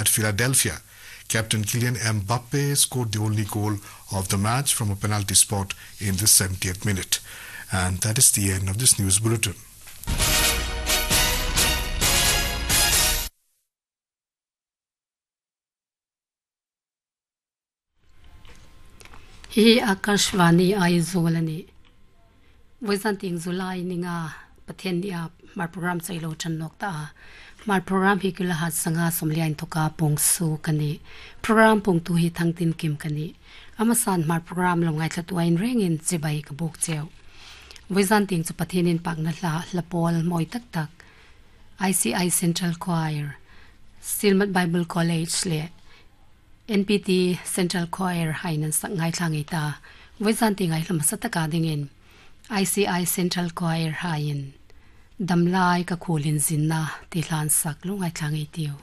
at Philadelphia. Captain Kylian Mbappe scored the only goal of the match from a penalty spot in the 70th minute. And that is the end of this news bulletin. Hi Akashvani Aizawl a ni. Vawisan ting July ninga Pathian ni a mar program chailo tan nok ta a. Mar program hi kila hat sanga somlian thoka pong su kani. Program pong tu hi thangtin kim kani. Amasan mar program lo ngai thla tuain rengin chibai ka buk cheu. Vawisan ting chu Pathianin pakna hla hlapol moi tak tak ICI Central Choir Silmat Bible College le NPT Central Choir hainan sak ngai thla ngei ta. Vawisan ti ngai hlama sataka dingin ICI Central Choir hain damlai ka khulin zinna ti hlan sak lu ngai thla ngei tiu.